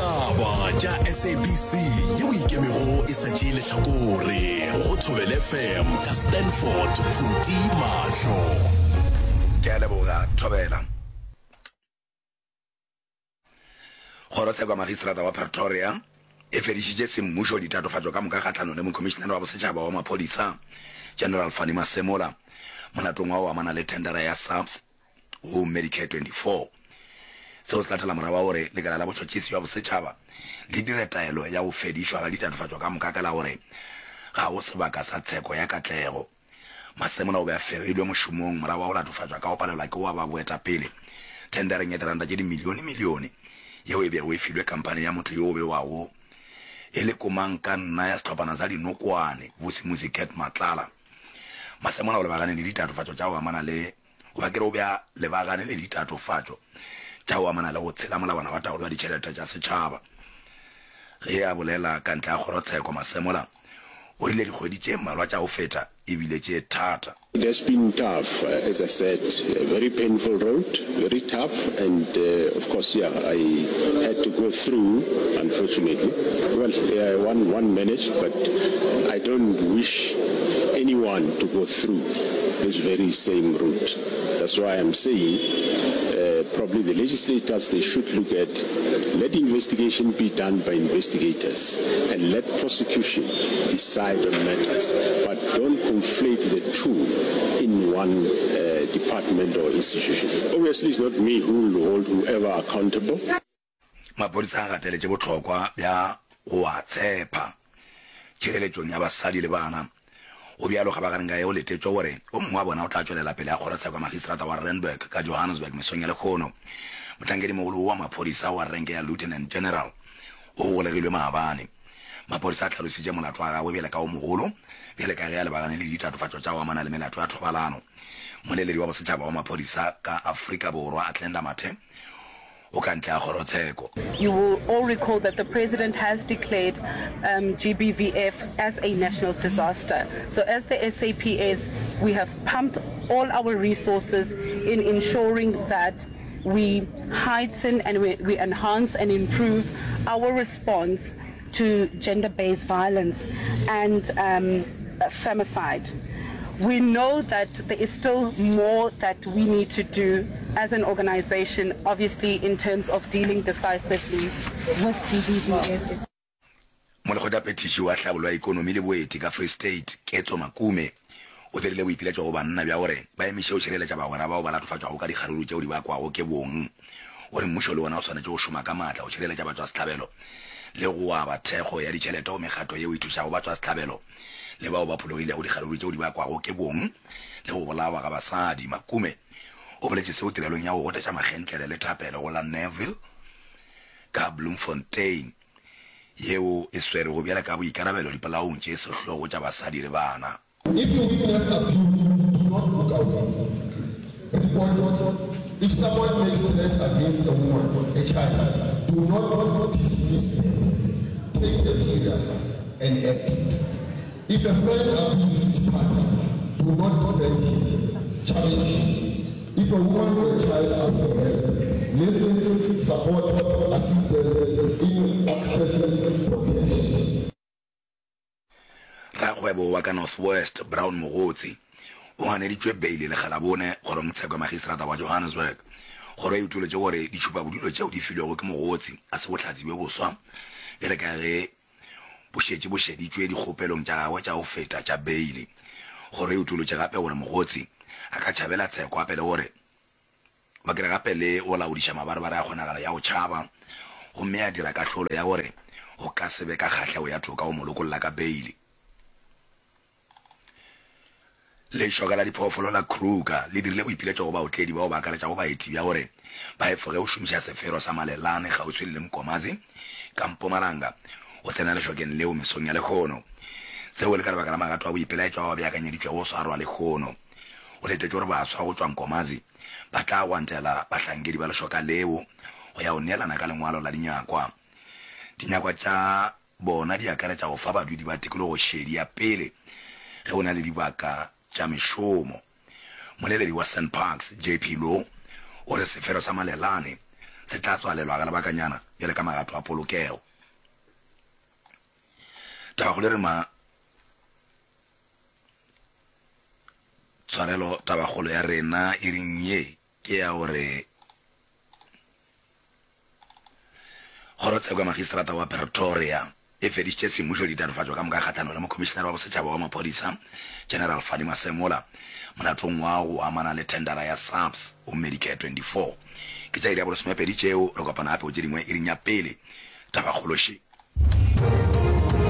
Ditaba tša SABC yeo e ikemego e sa tšee lehlakore go Thobela FM ka Stanford Phuti Mahlo. Ke a leboga Thobela. Kgorotsheko ya Magistrata wa Pretoria e fedišitše semmušo ditatofatšo ka moka kgahlanong le Mokhomišenare wa Bosetšhaba wa Maphodisa, General Fannie Masemola, molatong wa go amana le thendara ya SAPS go Medicare 24. Seo se latela morago ga gore Lekala la Botšhotšhisi bja Bosetšhaba le dire taelo ya go fedišwa ga ditatofatšo ka moka ka la gore ga go sebaka sa tsheko ya katlego. Masemola o be a fegilwe mošomong morago ga go latofatšwa ka go palelwa ke go aba boetapele thendareng ya diranta tše dimilionemilione yeo e bego e filwe khamphani ya motho yo o bewago e le komangkanna ya sehlophana sa dinokwane, Vusimuzi Cat Matlala. Masemola o lebagane le ditatofatšo tša go amana le goba ke re o be a lebagane le ditatofatšo tša go amana le go tshela molawana wa taolo ya ditšhelete tša setšhaba. Ge a bolela ka ntle ga kgorotsheko, Masemola o rile dikgwedi tše mmalwa tša go feta e bile tše thata. It has been tough, as I said, a very painful road, very tough and of course yeah, I had to go through unfortunately. Well, yeah, one, one managed but I don't wish anyone to go through this very same route. That's why I'm saying uh, probably the legislators, they should look at, let investigation be done by investigators and let prosecution decide on matters, but don't conflate the two in one uh, department or institution. Obviously, it's not me who will hold whoever accountable. Maphodisa a gateletše bohlokwa bja go a tshepa tšhireletšong ya basadi le bana. Go bjalo kgabagareng ka ge go letetšwe gore o mongwe wa bona o tla tšwelela pele ga kgorotsheko ya magistrata wa Randburg ka Johannesburg mesong ya lehono. Mohlankedimogolo wo wa maphodisa wa renke ya Lieutenant General o golegilwe maabane. Maphodisa a hlalositše molato wa gagwe bjale ka o mogolo bjale ka ge a lebagane le ditatofatšo tša go amana le melato ya thobalano. Mmoleledi wa bosetšhaba wa maphodisa ka Afrika Borwa Athlenda Mathe o ka ntle ga kgorotsheko. You will all recall that the president has declared um, GBVF as a national disaster. So as the SAPS, we have pumped all our resources in ensuring that we heighten and we, we enhance and improve our response to gender-based violence and um, femicide. We know that there is still more that we need to do as an organization, obviously in terms of dealing decisively with GBVF. Molekgotlaphethiši wa hlabollo ya ekonomi le boeti ka Free State, Ketso Makume, o dirile boipiletšo go banna bja gore ba emiše go šireletša bagwera bao ba latofatšwago ka dikgaruru tšeo di bakwago ke bong. O re mmušo le wona o swanetše go šoma ka maatla go šireletša batšwasehlabelo le go aba thekgo ya ditšhelete go mekgatlo yeo e thušago batšwasehlabelo le bao ba phologilego dikgaruru tšeo di bakwago ke bong le go bolawa ga basadi. Makume o boletše seo tirelong ya go gotetša makgentlele le thapelo go la Neville ka Bloemfontein yeo e swerego bjale ka boikarabelo dipolaong tše sehlogo tša basadi le bana. If you witness abuse, do not look away. Report it. If someone makes threats against a woman, a child, do not dismiss them. Take them serious and act. If a friend abuses his partner, do not defend him, challenge him. If a woman or a child asks for help, listen, support, assist them in accessing protection. Rakgwebo wa ka North West, Brown Mogotsi, o ganeditšwe beile lekga la bone kgorongtsheko ya magistrata wa Johannesburg. Kgoro e utolotše gore ditšhupabodulo tšeo di filwego ke Mogotsi ga se bohlatse bjo boswa bjale ka ge bo šetše bo šeditšwe dikgopelong tša gagwe tša go feta tša beile. Kgoro e utolotše gape gore Mogotsi a ka tšhabela tsheko gape le gore Ba kere gape le go laodiša mabarebare a kgonagalo ya go tšhaba, gomme ya dira kahlolo ya gore go ka se be ka kgahlego ya toka go mo lokolla ka beile. Lešoka la diphoofolo la Kruger le dirile boipiletšo go baotledi bao ba akaretšago baeti bja gore ba efoge go šomiša sefero sa Malelane kgauswi le Nkomazi ka Mpumalanga go tsena lešokeng leo mesong ya lehono. Seo e le ka lebaka la magato a boipelaetšo ao a beakanyeditšwego go swarwa lehono. Go letetšwe gore baswa go tšwa Nkomazi ba tla gwantela bahlankedi ba lešoka leo go ya go neelana ka lengwalo la dinyakwa. Dinyakwa tša bona di akaretša go fa badudi ba tikologo šedi ya pele ge go na le dibaka tša mešomo. Moleledi wa SanParks, JP Louw, o re sefero sa Malelane. se tla tswalelwa ka lebakanyana bjale ka magato a polokego. Tabakgolo e re ma tshwarelo tabakgolo ya rena iring ye ke ya gore Kgorotsheko ya Magistrata wa Pretoria e fedišitše semmušo ditatofatšo ka moka kgahlanong le Mokhomišenare wa Bosetšhaba wa Maphodisa, General Fannie Masemola, molatong wa go amana le thendara ya SAPS go Medicare 24. Ke tša iri ya bolesomepedi tšeo, re kopana gape go tše dingwe iring ya pele. Tabakgolo še.